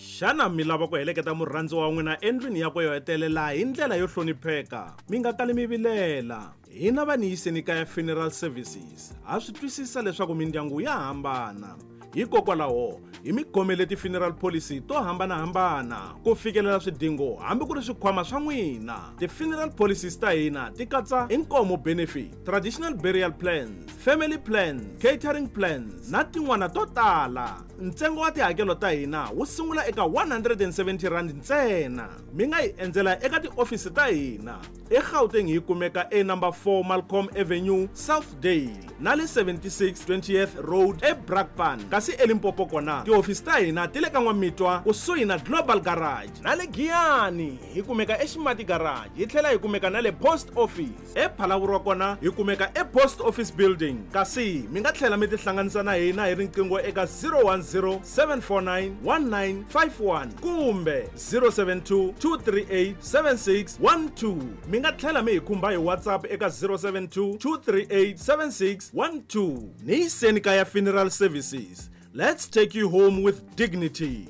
Xana mi lava ku heleketa murhandziwa wa n'wina endlwini yakwe yo hetelela hi ndlela yo hlonipheka? Mi nga kali mi vilela. Hina va Niyiseni Kaya Funeral Services ha swi twisisa leswaku mindyangu ya hambana. Hikokwalaho, hi mi khomele ti-funeral policy to hambana-hambana ku fikelela swidingo hambi ku ri swikhwama swa n'wina. Ti-funeral policies ta hina ti katsa inkomo benefit, traditional burial plans, family plans, catering plans na tin'wana to tala. Ntsengo wa tihakelo ta hina wu sungula eka R170 ntsena. Mi nga hi endzela eka tiofisi ta hina eGauteng hi kumeka e number 4 Malcolm Avenue, Southdale na le 76 20th Road eBrakpan. Kasi eLimpopo kona tihofisi ta hina ti le ka N'wamitwa kusuhi na Global Garage na le Giyani hi kumeka eXimati Garage hi tlhela hi kumeka na le Post Office. ePhalaborwa kona hi kumeka ePost Office Building kasi mi nga tlhela mi tihlanganisa na hina hi riqingho eka 010 749 1951 kumbe 072 238 7612. Mi nga tlhela mi hi khumba hi WhatsApp eka 072 238 7612. Ni yiseni kaya Funeral Services. Let's take you home with dignity.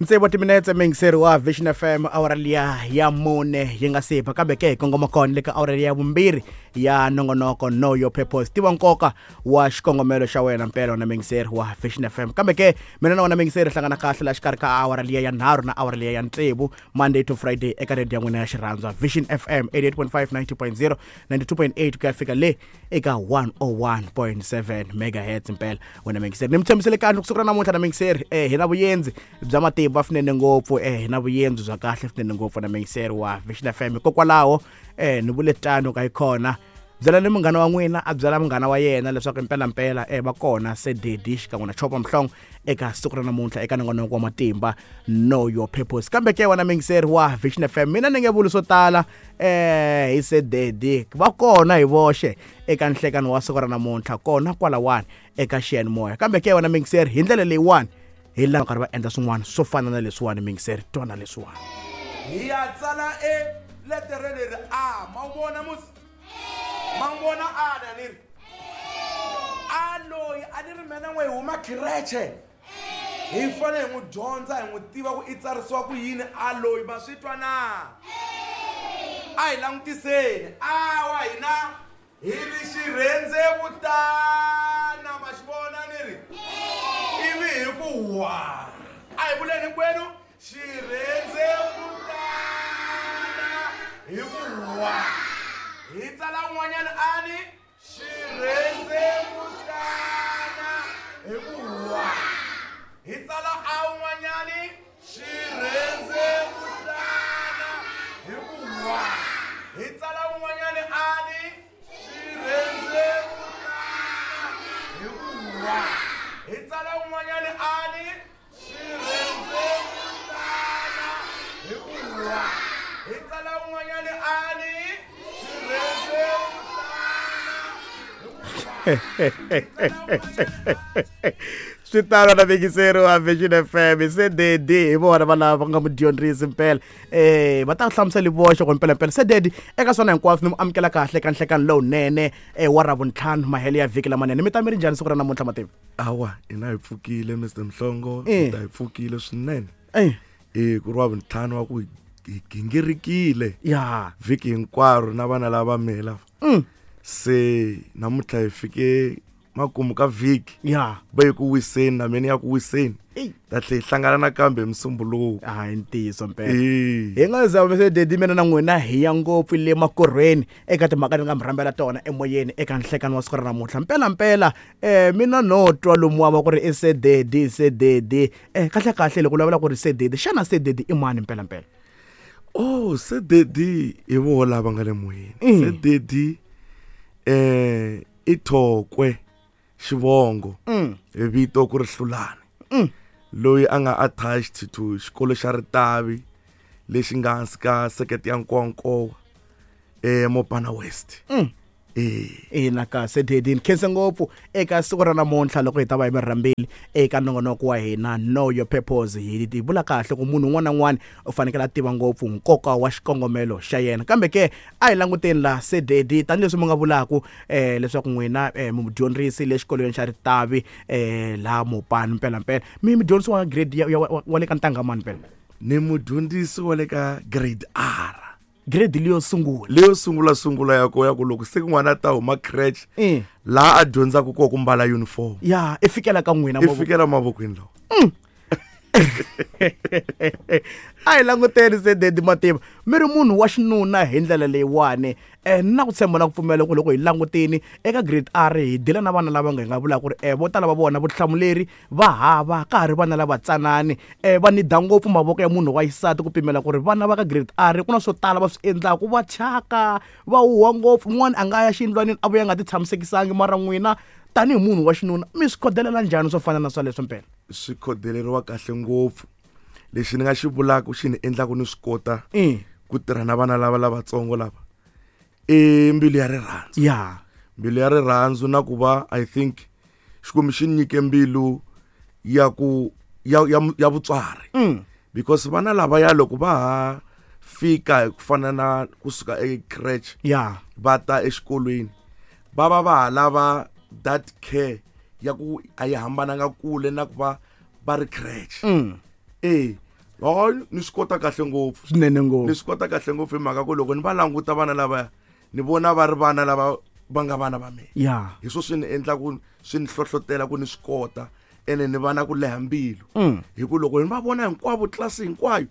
Tsevu timinetse muyingiseri wa Vision FM awara liya ya mune yi nga si ba kambe ke hi kongoma kona le ka awara ya vumbirhi ya nongonoko Know Your Purpose tiva nkoka wa xikongomelo xa wena mpela na muyingiseri wa Vision FM kambe ke mina na wena muyingiseri hlangana kahle la xikarhi ka awara liya ya nharhu na awara liya ya tsevu Monday to Friday eka radio ya n'wina ya xirhandzwa Vision FM 88.5 90.0 92.8 ku ya fika le eka 101.7 megahertz mpela wena muyingiseri ni mi tshembisele kahle ku siku ra namuntlha na muyingiseri hi na vuyendzi bya matimba swinene ngopfu hi na vuyendzi bya kahle swinene ngopfu na muyingiseri wa Vision FM hikokwalaho ni vule tano ka yi kona byelani munghana wa n'wina a byela munghana wa yena leswaku mpelampela va kona se dedi xikan'we na chopa mhlongo eka siku ra namuntlha eka nongonoko wa matimba Know Your Purpose kambe ke wena muyingiseri wa Vision FM mina ni nge vuli swo tala hi se dedi va kona hi voxe eka nhlekani wa siku ra namuntlha kona kwalawani eka xiyanimoya kambe ke wena muyingiseri hi ndlela leyiwani hi laha karhi va endla swin'wana swo fana na leswiwani muyingiseri twana leswiwani hi ya tsala e letere leri a ma wu vona musi ma n'wi vona a na ni ri a loyi a ni ri mina n'we hi huma khireche hi fanele hi n'wi dyondza hi n'wi tiva ku i tsarisiwa ku yini a loyi ma swi twa na a hi langutiseni a wa hina hi ri xirhendzevutana ma xi vona ni ri ivi hi ku wa a hi vuleni hinkwenu xirhendzevutana hi ku wa hi tsala un'wanyana a ni xirhendzevutana hi ku wa hi tsala a un'wanyani xirhendzevutana hi ku wa hi tsala un'wanyani a ni xirhendzevutana hi ku wa hi tsala un'wanyani a ni xirhendzevutana hi ku wa hi tsala un'wanyani a ni xirhendzevutana hi ku wa swi tano na miyingiseri wa Vision FM se dedi hi vona va lava va nga mudyondzisi mpela va ta hlamusela voxe ku mpela mpela se dedi eka swona hinkwaswo ni mu amukela kahle ka nhlekani lowunene wa ravuntlhanu mahelo ya vhiki lamanene mi ta mi ri njhani siku ra namuntlha mativa awa hina hi pfukile Mr Mhlongo hi ta hi pfukile swinene ku ri wa vuntlhanu wa ku hi gingirikile ya vhiki hinkwaro na vana lava mela se namuntlha hi fike makumu ka vhiki ya va yi ku wiseni na mina ya ku wiseni ta tlhe hi hlangana nakambe hi musumbuluko hayi ntiyiso mpela hi nga za se dedi mina na n'wina hi ya ngopfu le makorhweni eka timhaka ni nga mi rhambela tona emoyeni eka nhlekani wa siku ra namuntlha mpela mpela mina no twa lomuwa va ku ri i se dedi se dedi kahle kahle loko vulavula ku ri se dedi xana se dedi i mani mpela mpela oh se dedi hi voho lava nga le moyeni se dedi i Thokwe xivongo hi vito ku ri Hlulani loyi a nga attached to xikolo xa Ritavi lexi nga hansi ka sekete ya Nkowankowa Mopana West. Ina ka se dedi ni khense ngopfu eka siku ra namuntlha loko hi ta va hi mi rhambile eka nongonoko wa hina Know Your Purpose. Hi ti vula kahle ku munhu un'wana na un'wana u fanekele a tiva ngopfu nkoka wa xikongomelo xa yena. Kambe ke a hi languteni la se dedi, tanihileswi mi nga vulaku leswaku n'wina mudyondzisi le xikolweni xa Ritavi laha Mopani. Mpelampela mi mudyondzisi wa grade wa le ka ntangha mani mpela? Ni mudyondzisi wa le ka grade R. Grade leyo sungula. Leyo sungula sungula ya ko ya ku loko se n'wana a ta huma crèche, laha a dyondzaka kona ku mbala uniform, ya i fikela ka n'wina. I fikela mavokweni lawa. A hi languteni se dedi Mativa, mi ri munhu wa xinuna hi ndlela leyiwani, na ku tshemba na ku pfumela ku loko hi langutini eka grade R, hi dila na vana lava nga hi nga vulaka ku ri vo tala va vona vutihlamuleri va hava, ka ha ri vana lava tsanani, va nida ngopfu mavoko ya munhu wa xisati, ku pimela ku ri vana va ka grade R ku na swo tala va swi endlaku, va thyaka, va huha ngopfu, un'wana a nga ya xiyindlwanini a vuya a nga ti tshamisekisangi. Mara n'wina tanihi munhu wa xinuna mi swi khodelela njhani swo fana na swaleswo mpela? Swi khodeleriwa kahle ngopfu. Lexi ni nga xi vulaka xi ni endlaku ni swi kota ku tirha na vana lava lavatsongo lava i mbilu ya rirhandzu. Mbilu ya rirhandzu na ku va I think Xikwembu xi nyike mbilu ya ku ya vutswari, because vana lavaya loko va ha fika hi ku fana na kusuka ecreche va ta exikolweni, va va va ha lava that care ya ku a yi hambananga kule na ku va va ri crèche. E hayi, ni swi kota kahle ngopfu. Swinene ngopfu. Ni swi kota kahle ngopfu hi mhaka ku loko ni va languta vana lavaya, ni vona va ri vana lava va nga vana va mina. Hi swo swi ni endla ku swi ni hlohlotela ku ni swi kota, ene ni va na ku leha mbilu, hi ku loko ni va vona hinkwavo, tlilasi hinkwayo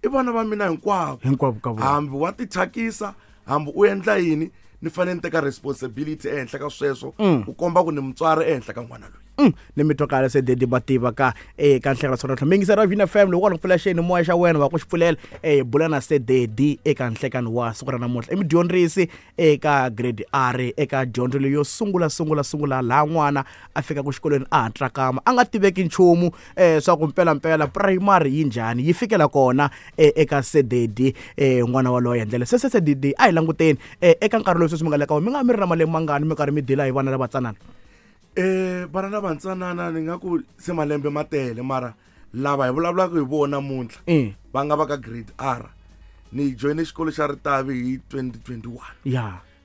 i vana va mina hinkwavo. Hinkwavo ka vona. Hambi wa tithyakisa, hambi u endla yini, ni fanele ni teka responsibility ehenhla ka sweswo, ku komba ku ni mutswari ehenhla ka n'wana loyi. Ni mi twa kahle se dedi Mativa ka eka nhlekelo swa namuntlha. Miyingiseri wa Vina FM, loko wa ku pfula xeni moya xa wena wa ku xi pfulela, bula na se dedi eka nhlekani wa siku ra namuntlha. I mudyondzisi eka grade R, eka dyondzo leyo sungula sungula sungula, laha n'wana a fikaka xikolweni a ha tsakama, a nga tiveki nchumu swa ku mpelampela primary yi njhani, yi fikela kona eka sededi n'wana waloye. Ndlela se se sededi, a hi languteni eka nkarhi lowu sweswi mi nga le ka wona, mi nga mi ri na malembe mangani mi karhi mi dila hi vana lavatsanana? Vana lavantsanana ni nga ku se malembe ma tele, mara lava hi vulavulaka hi vona namuntlha va nga va ka grade R, ni joyine xikolo xa Ritavi hi 2021,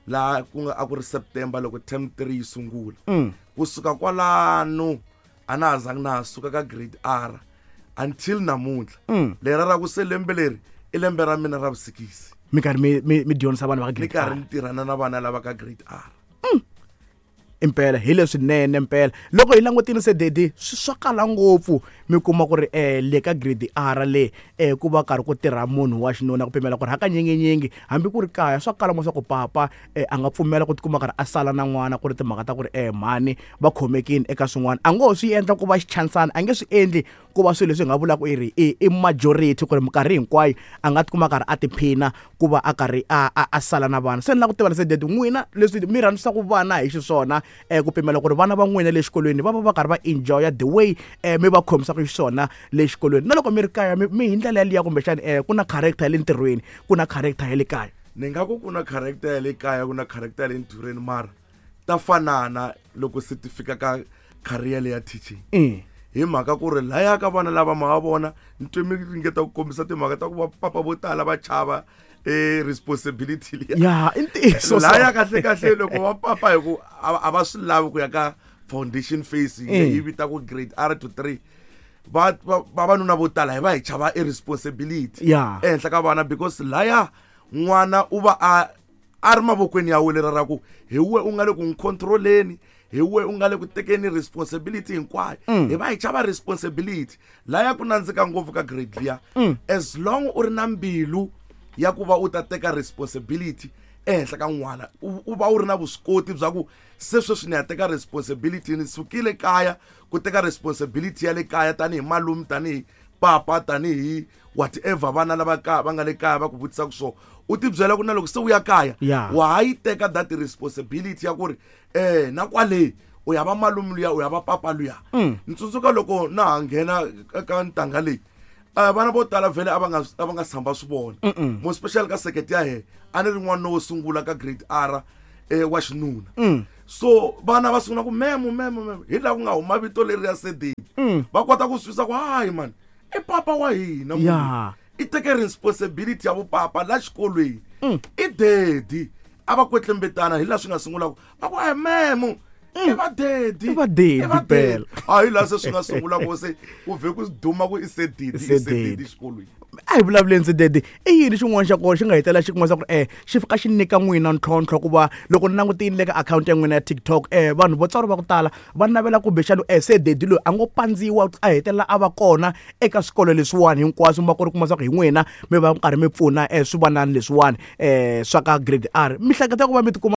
laha ku nga a ku ri September loko term 3 yi sungula. Kusuka kwalano a na ha zangi na ha suka ka grade R until namuntlha. Lera ra ku se lembe leri i lembe ra mina ra vusikisi. Mi karhi mi dyondzisa vanhu va ka ni grade karhi R. Ni tirhana na vana lava ka grade R. Impela hi leswinene mpela. Loko hi langutile se dedi, swi swa kala ngopfu mi kuma ku ri le ka grade R le ku va karhi ku tirha munhu wa xinuna, ku pimela ku ri hakanyinginyingi hambi ku ri kaya swa kala mo swa ku papa a nga pfumela ku tikuma karhi a sala na n'wana, ku ri timhaka ta ku ri mhani va khomekini eka swin'wana, a ngo ho swi endla ku va xichansana, a nge swi endli ku va swilo leswi hi nga vulaka i ri i majority, ku ri minkarhi hinkwayo a nga tikuma karhi a tiphina ku va a karhi a sala na vana. Se ni lava ku tiva se dedi, n'wina leswi mi rhandzisaka vana hi xiswona, ku pimela ku ri vana va n'wina le xikolweni va va va karhi va enjoya the way mi va khomisaka xiswona le xikolweni, na loko mi ri kaya mi hi ndlela yaliya, kumbexani ku na character ya le ntirhweni, ku na character ya le kaya? Ni nga ku ku na character ya le kaya, ku na character ya le ntirhweni, mara ta fanana loko se ti fika ka career leya teaching, hi mhaka ku ri laya ka vana lava ma va vona ni twe mi ringeta ku kombisa timhaka ta ku va papa vo tala va chava e responsibility liya. Ya, i ntiyiso. Laya kahle kahle loko va papa hi ku a va swi lavi ku ya ka foundation phase yi vita ku grade R to 3, va vavanuna vo tala hi va hi chava i responsibility ehenhla ka vana, because laya n'wana u va a ri mavokweni ya wena, lera ra ku hi we u nga le ku n'wi controleni, hi we u nga le ku tekeni responsibility hinkwayo. Hi va hi chava responsibility. Laya ku nandzika ngopfu ka grade liya, as long u ri na mbilu ya ku va u ta teka responsibility ehenhla ka n'wana, u va u ri na vuswikoti bya ku se sweswi ni ya teka responsibility, ni sukile kaya ku teka responsibility ya le kaya tanihi malume, tanihi papa, tanihi whatever vana lava ka va nga le kaya va ku vutisaka swona, u ti byela ku na loko se u ya kaya wa ha yi teka that responsibility ya ku ri na kwale u ya va malume luya, u ya va papa luya. Ni tsundzuka loko na ha nghena ka ntanga leyi, vana vo tala vhele a va nga tshamba swi vona, mo special ka sekete ya he a ni ri n'wana wo sungula ka grade R. wa xinuna. So vana va sungula ku memo memo memo, hi laha ku nga huma vito leri ya sededi. Va kota ku swi twisisa ku hayi mani, i papa wa hina munhu. I teke responsibility ya vupapa la xikolweni. I daddy. A va kwetlembetana hi laha swi nga sungula ku va ku a memo, i va daddy. I va daddy I va daddy. Phela. A hi laha se swi nga sungula ku se ku vhe ku duma ku i sedidi, i Sedidi. sedidi xikolweni. A hi vulavuleni sededi, i yini xin'wana xa kona xi nga hetelela xi kuma swa ku xi fika xi nyika n'wina ntlhontlho ku va loko ni langutile le ka akhawunti ya n'wina ya TikTok, vanhu vo tswari va ku tala va navela kumbexana sededi loyi a ngo pandziwa a hetelela a va kona eka swikolo leswiwani hinkwaswo, mi va ku ri kuma swa ku hi n'wina mi va karhi mi pfuna swivanani leswiwani swa ka grade R, mi hleketa ku va mi tikuma